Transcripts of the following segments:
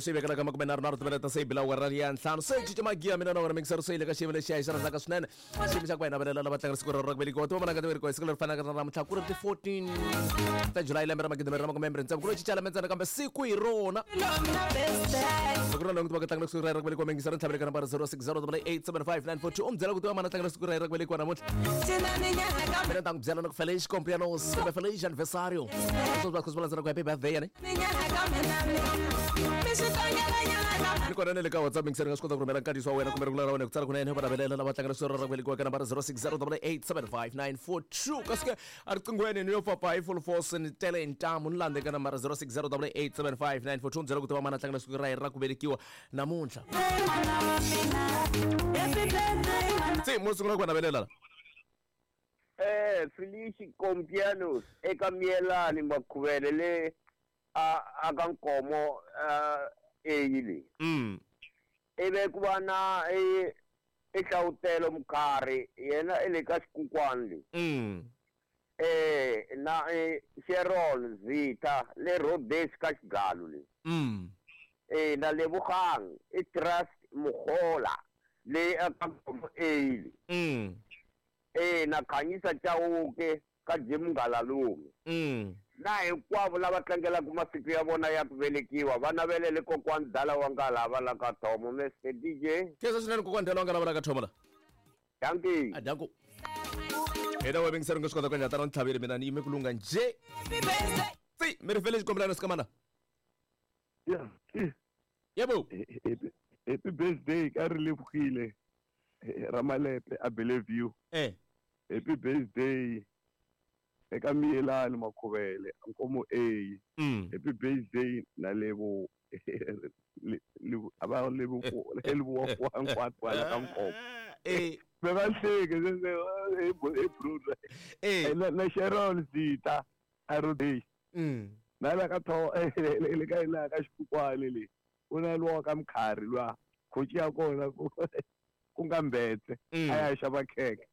Swi vekela ka 37 timinete se yi bila awara ya ntlhanu. Se cinca magiya mina na wena mingisero se yi le ka xiyimo lexiya hi xi rhandzaka swinene. Xiyimo xa ku va hi navelela lava tlangela siku rero ra ku velekiwa. Tiva mananga ti velekiwa hi siku leri fanaka na namuntlha ku ri ti 14 ta July lembe ra magidimbirhi na makume mbirhi tsevu. Ku lo cinca lembe ntsena kambe siku hi rona. Loko ri na loko tiva ku tlangela siku ra ku velekiwa mingisero ntlhavele ka nambara 0608875942 u mi byela ku tiva mana tlangela siku ra ku velekiwa namuntlha. Mina ni ta n'wi byela na ku Feliz cumpleaños kumbe Feliz aniversario. Sweswi va swi landzela ku happy birthday yani. Ni kona na le ka WhatsApp mingiseri nga swi kota ku rhumela nkandziyiso wa wena kumbe rungula ra wena ku tsala kunene va navelela lava tlangela siku ra ku velekiwa ka nambara 0608875942 kasi ke eriqinghweni ni yo papa hi full force ni tele hi ntamu ni landze ka nambara 0608875942 byela ku tiva mana tlangela siku ra yena ra ku velekiwa namuntlha. Se mo sungula ku va navelela la. Eh, Felice Compianos eka Miyelani Makhuvele le a a ka Nkomo eyi le. Ivi ku va na i i Hlawutelo Mkhari yena i le ka Xikukwani le. Eh na i Sharon Zitha le Rhodes ka Xigalu le. Eh na Lebogang i Trust Mukhola le a ka Nkomo eyi le. E na Khanyisa Chauke ka Jim Ngalalume. Na hinkwavo lava tlangelaka masiku ya vona ya ku velekiwa va navelele kokwani Dala wa Ngalava la ka Thomo. Mister DJ. Khensa swinene kokwani Dala wa Ngalava la ka Thomo la. Dankie. A danko. Hina wa vingiseri nga swi kota ku endla tano ni tlhavile mina ni yime ku lungha njhe. Tsi mi ri fele xikombelano sikamana. Yeah. Yebo. Happy birthday ka ri levukile. Ramalepe a Bellevue. Happy birthday eka Miyelani Makhuvele Nkomo A. Happy birthday na Lebo a va Lebo Lebo wa nkwatu kwala ka Nkomo. Ve va hleke se he brother. Na Sharon Zita a Rhodesia. Na la ka tho le ka la ka Xikukwani le. U na luwa ka Mkhari luwa khoci ya kona ku ku nga Mbetse a ya xava khekhe.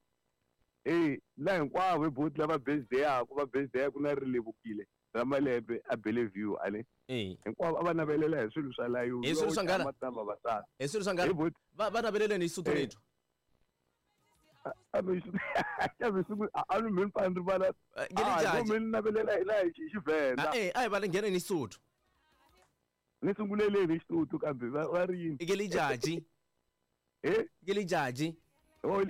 E la hinkwavo hi buti lava birthday-aku va birthday-aku na ri levukile ra malembe a Bellevue a ne. Hinkwavo a va navelela hi swilo swa la yo. Hi swilo swa nghala. Na vavasati. Hi swilo swa nghala. Hi buti. Va naveleleni hi Sotho lethu. A mi swi a mi swi a ni mi pfa ni rivala. Ngele A mi navelela hi la hi Xivenda. A hi va ngheneni hi Sotho. Ni sunguleleni hi Xisotho kambe va ri yini? Ke lijaji. Eh? Ke lijaji. Oh,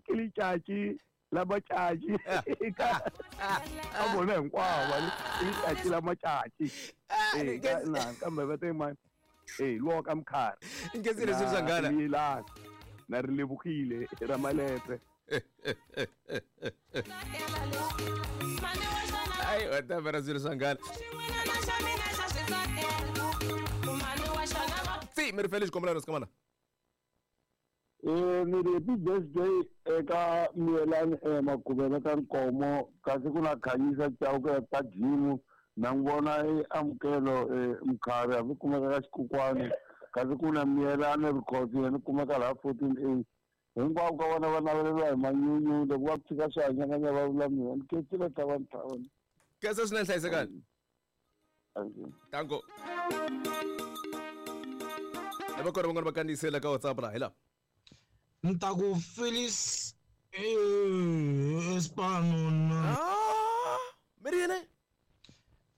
ke lijaji la matšatši. Ka bona hinkwavo va ke lijaji la matšatši. Eh, ka na kambe va te mani. Eh, luwa ka Mkhari. Nkensile swilo swa nghala. Miyelani. Na ri levukile ra malepe. Ai, wa ta vera swilo swa nghala. Tsi, mi ri fele xikombelano sikamana. Ni ri happy birthday eka Miyelani Makhuvele ka Nkomo kasi ku na Khanyisa Chauke ka Jimu na n'wi vona e Amukelo Mkhari hambi kumeka ka Xikukwani kasi ku na Miyelani Rikhotso yena kumeka laha 14 A. Hinkwavo ka vona va naveleriwa hi manyunyu loko va tshika swi hanyakanya va vula mina ni khensile Tlhavani Tlhavani. Khensa swinene hlayisekani. Thank you. Tanko. E va kona van'wana va kandziyisela ka WhatsApp la hi la. Ni ta ku Phyllis Espano na. Mi ri yini?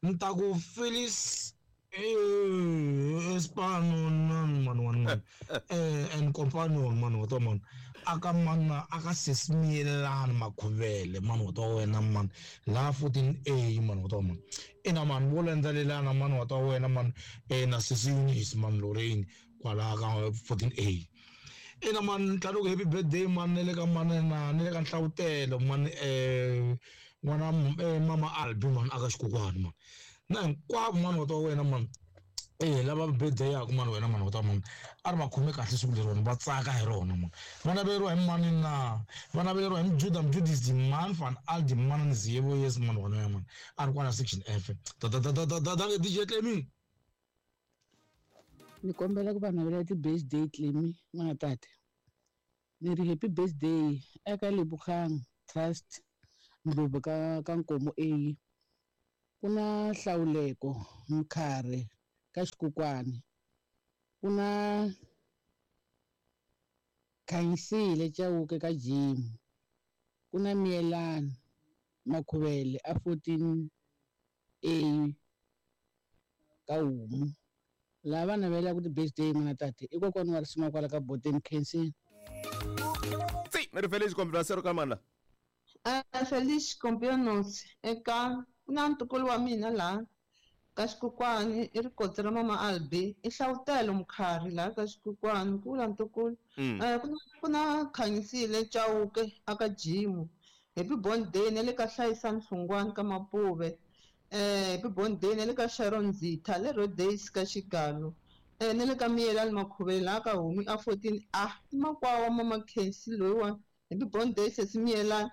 Ni ta ku Phyllis Espano na man one man. And companion man wa man. Aka mana aka sesimielana Makhuvele man wa wena man. La 14A man wa man. Ina man wo landzelelana man wa wena man. Na sesi Eunice man Lorraine kwala ka 14A. Ina man tlhelo ku happy birthday man ne le ka man na ne le ka Nhlawutelo man n'wana mama Albi man aka Xikukwani man. Na hinkwavo man wa wena man. Lava birthday yaku man wena man wa man. A ri va khome kahle siku leri va tsaka hi rona man. Va naveriwa hi mani na va naveriwa hi Mjuda Mjudisi man van Aldi man Nziyebo yes man wa wena man. A ri kwala section F. Da da da da da da da DJ Clemi. Ni kombela ku va navela ti birthday Clemi n'wana tate. Ni ri happy birthday eka Lebogang Trust Ndlovu ka Nkomo A. Ku na Hlawuleko Mkhari ka Xikukwani, ku na Khanyisile Chauke ka Jim, ku na Miyelani Makhuvele a 14A ka Homu. Lava va navelaka ti-birthday n'wana tate i kokwana wa risima kwala ka Boteni Khensini. Tsi, mi ri Felice Kombilasero ka mani la? Felice Compianos eka ku na ntukulu wa mina laha ka Xikukwani i rikotsi ra mama Albi i Hlawutelo Mkhari laha ka Xikukwani ku vula ntukulu. Ku na Khanyisile Chauke aka Jimu. Happy birthday na le ka Hlayisani Hlungwani ka Mapuve. Happy birthday na le ka Sharon Zitha le Rhodes ka Xigalo. Na le ka Miyelani Makhuvele laha ka Homu a 14A i makwavo wa mama Khensi loyiwani. Happy birthday sesi Miyelani.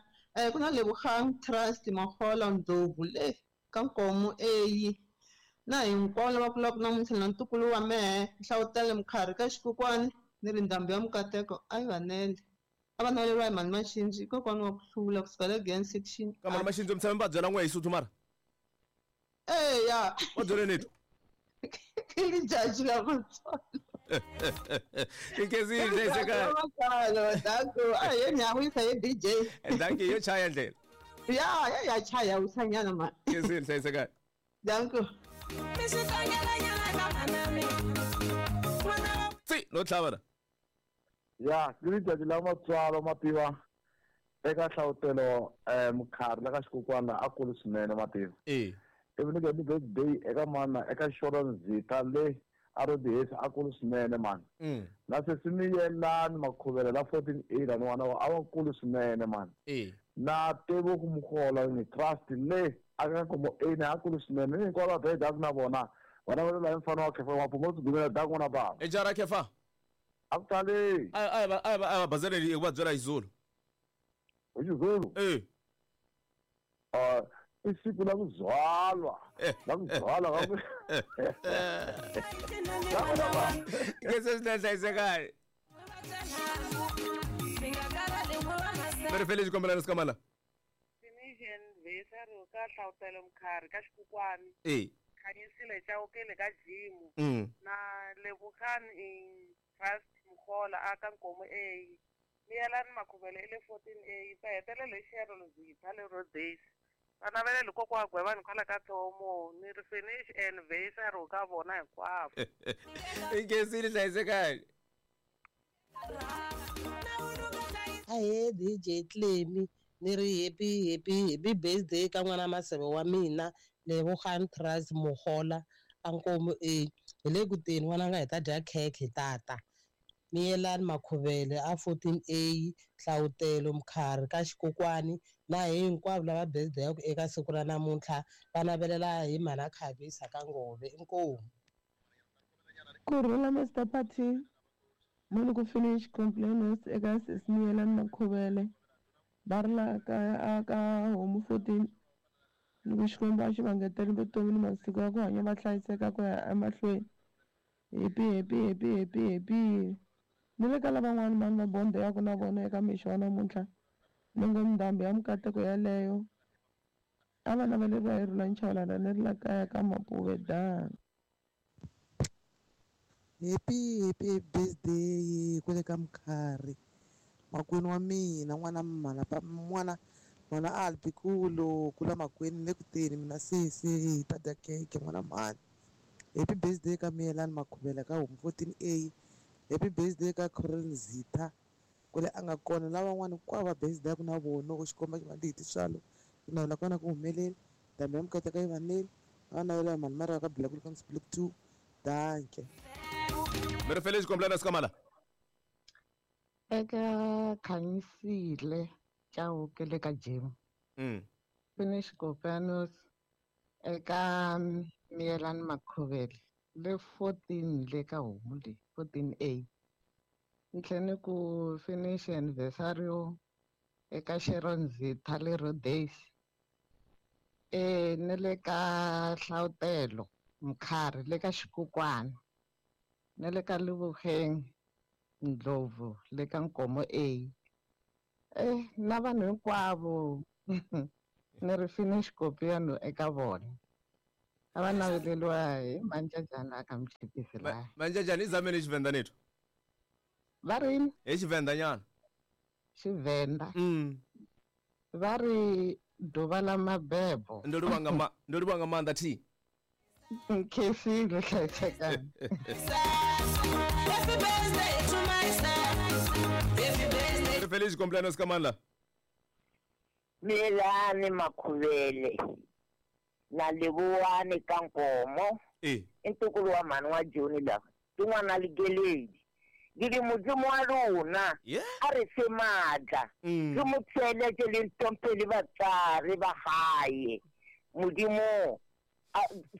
Ku na Lebogang Trust Mahola Ndlovu le ka Nkomo A na hinkwavo lava kulaka namuntlha na ntukulu wa mehe Hlawutele Mkhari ka Xikukwani ni ri ndhambi ya Mukateko a yi vanele a va naveleriwa hi Mhani Maxindzi kokwana wa ku hlula kusuka le Glen section. Ka Mhani Maxindzi mi tshame mi va byela n'we hi Sotho mara? Eya. Va byele ni twa. I lijaji la Matsonga. Inkezile hlayisekani. Danko, a ye ni ya wisa ye DJ. Danki yo chaya ndlela. Ya, ya ya chaya wisanyana ma. Inkezile hlayisekani. Danko. Tsi, no tlhava la. Ya, ke lijaji la Matswalo mativa eka Hlawutelo Mkhari la ka Xikukwani a kulu swinene mativa. Ivi ni happy birthday eka mana eka Sharon Zitha le a Rhodes a kulu swinene mani. Na sesi Miyelani Makhuvele la 14A la n'wana wa a wa kulu swinene mani. Na Tebogo Mogola ni Trust le a ka Nkomo A ne a kulu swinene ni hinkwavo va birthday a ku na vona vana va le la mfana wa Khefa wa Phumo Tshigumela da n'wana bava. E jara Khefa. A ku tali. A va bazeleli ku va byela hi Zulu. Hi Xizulu? I siku la ku byalwa. La ku byalwa ka ku. Ke se swi hlayisekani. Mi ri Felice kombela leswi ka mani la? Tunisian Vesaro ka Hlawutelo Mkhari ka Xikukwani. Khanyisile Chauke le ka Jimu. Na Lebogang Trust Mkhola aka Nkomo A. Miyelani Makhuvele i le 14A. Va hetelela hi Sharon Zitha le Rhodes. Va navelela kokwa Gwevani kwala ka Thomo ni ri finish and Vesaro ka vona hinkwavo. Inkezile hlayisekani. Ahee DJ Clemi ni ri happy happy happy birthday ka n'wana Maseve wa mina Lebogang Trust Mogola a Nkomo A. Hi le ku teni n'wana nga hi ta dya khekhe tata. Miyelani Makhuvele a 14A Hlawutelo Mkhari ka Xikukwani na hinkwavo lava birthday ya ku eka siku ra namuntlha va navelela hi mhana Khavisa ka Ngove. Inkomu. Kurhula Mr Party muni ku finish complaints eka sesi Miyelani Makhuvele va ri la kaya ka Homu 14 ni ku Xikwembu a xi va ngeteli vutomi ni masiku ya ku hanya va hlayiseka ku ya emahlweni. Happy happy happy happy happy. Ni le ka lavan'wana mani va bonde ya ku na vona eka mixo wa namuntlha ni ngo ndhambi ya Mukateko yaleyo a va naveleriwa hi Rhulani Chavalala ni ri la kaya ka Mapuve dan. Happy happy birthday kwale ka Mkhari makwenu wa mina n'wana mhana n'wana n'wana Albi kulo kula makwenu le ku teni mina sesi hi ta dya khekhe n'wana mhani. Happy birthday ka Miyelani Makhuvele ka Homu 14A. Happy birthday ka Corin Zitha kule a nga kona lavan'wana hinkwavo va birthday ya ku na vona ku Xikwembu xi va ndzi hi tintswalo ku navela ka vona ku humelela ndhambi ya Mukateko yi vanele va navela hi mhani Mariya ka Black Lucas Black 2. Danke. Mi ri Felice kombela leswi ka mani la? Eka Khanyisile Chauke le ka Jim. Finish Kopanos eka Miyelani Makhuvele le 14 le ka Homu le 14A. Ni tlhela ni ku finish anniversario eka Sharon Zitha le Rhodes. Ni le ka Hlawutelo Mkhari le ka Xikukwani. Ni le ka Lebogang Ndlovu le ka Nkomo A. Na vanhu hinkwavo ni ri finish kopiano eka vona. A va naveleliwa hi manjajana aka mchipisi laya. Manjajana i zameni Xivenda nethu. Va ri hi Xivenda nyana. Xivenda. Va ri ḓuvha ḽa mabebo. Ndo livhuwa nga maanḓa thi. Khesile hlayisekani. Happy birthday to myself. Happy birthday. Feliz cumpleaños Kamala. Milani Makhuvele na Leboani ka Nkomo. I ntukulu wa mhani wa Joni la. Tin'wana ligeledi. Ngiri mudzimu wa rona a ri fe maatla. Re mo tsheletse le ntompele batswari ba gae. Modimo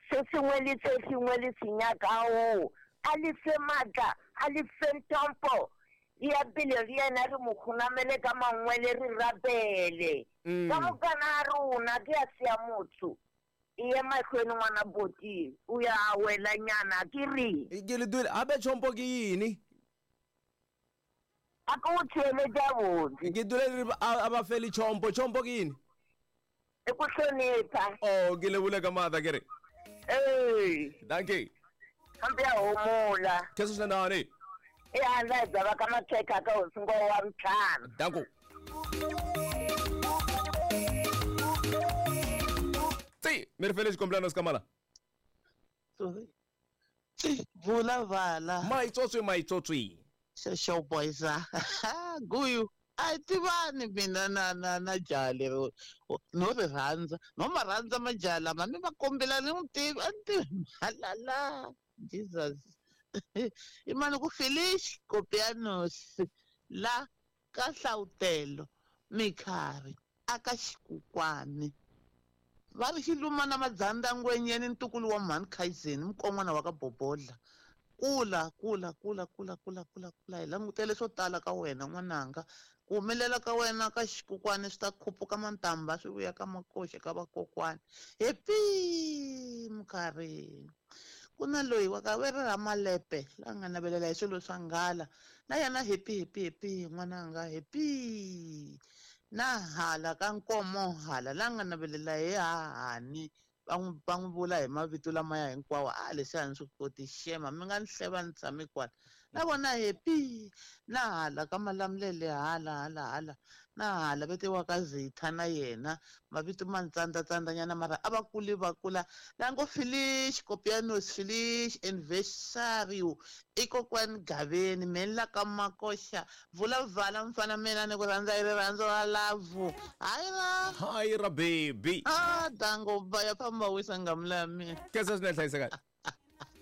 se sengwe le se sengwe le se nyakao a le fe maatla, a le fe ntompo. Ya pele re yena re mo khunamele ka mangwele re rapele. Ka mokana a rona ke a sia motho. Iye mahlweni ngwana boti o ya wela nyana ke re. Ke le dule abe chompo ke yini? A ko tsheletsa botse. Ke dule re a ba fele chompo, chompo ke yini? E ku hlonipha. Oh, ke lebule ka maatla ke re. Eh. Dankie. Hambe ya homola. Ke se nane. E handla dzava ka makhekha ka hosingo wa mtlhanu. Danko. Tsi, mi feliz cumpleaños Kamala. Sorry. Tsi, vula vala. Maitsotsi. Show boys. Guyu. A tivani mina na jaha leri no ri rhandza no ma rhandza majaha lama mi va kombela ni n'wi tivi a ni tivi malala Jesus. I mani ku Felice Copianos la ka Hlawutelo Mikhari aka Xikukwani. Va ri xiluma na madzanda ngwenyeni ntukulu wa mhani Khayizeni mukon'wana wa ka Bobodla. Kula kula kula kula kula kula kula hi langutele swo tala ka wena n'wananga. Ku humelela ka wena ka Xikukwani swi ta khuphuka mantamba swi vuya ka makoxe ka vakokwani. Happy Mukharhi. Ku na loyi wa ka veri ra Malepe la nga navelela hi swilo swa nghala na yena happy happy happy n'wananga happy. Na hala ka Nkomo hala la nga navelela hi hahani va n'wi vula hi mavito lamaya hinkwawo a leswi a ni swi koti xema mi nga ni hleva ni tshame kwala na vona happy. Na hala ka Malamulele hala hala hala na hala vetiwa ka Zitha na yena mavito ma ni tsandzatsandza mara a va kuli va kula la ngo Felice Copianos Felice anniversario i kokwani Gaveni meni la ka Makoxa vula vala mfana mina ni ku rhandza i rirhandzu ra love hayi ra hayi ra baby a dango va ya famba wisa ngamula ya mina kesa swinene hlayisekani.